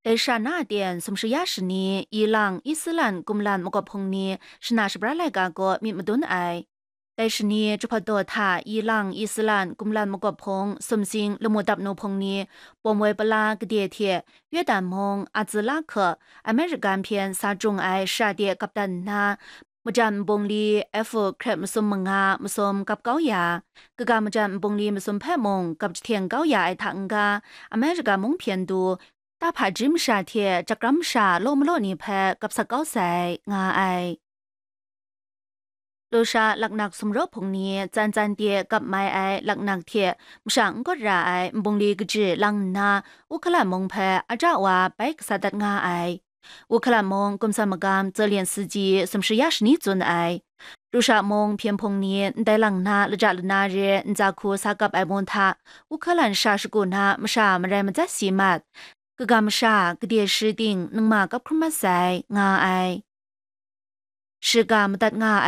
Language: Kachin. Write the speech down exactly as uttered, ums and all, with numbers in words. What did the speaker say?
Asia na aten sumsha ya shani, ilang Isilan kumlan makawp hpung ni shana shabra laika kaw myit madun ai. Dai shani Jahpawt daw hta ilang Isilan kumlan makawp hpung sumsing lamu dap nu hpung ni pawm woi pala gade hte Yawdan mung, Azi la hku, American hpyen sa jung ai shara de kap dat nna, majan nbungli F krep masum manga masum kap kau ya, kaga majan nbungli masum hpe mung kap jahteng kau ya ai hta n-ga, America mung hpyen du, tahpa jim masha hte jakram masha law malaw ni hpe kap sak kau sai, nga ai. Lusha laknak sumraw hpung ni tsan tsan de kap mai ai laknak hte masha n gawt ra ai nbungli kaji lang nna, Ukhalan mung hpe aja wa bai kasa dat nga ai. Ukhalan mung kumsa magam Zelian Siji sumsha ya shani tsun ai. Rusha mung hpyen hpung ni ndai lang na laja lana re ntsa hku sa kap ai mu hta, Ukhalan sha shagu na masha marai matsat si mat, kaga masha gade shi ting ningma kap hkrum mat sai, nga ai. Shiga madat nga ai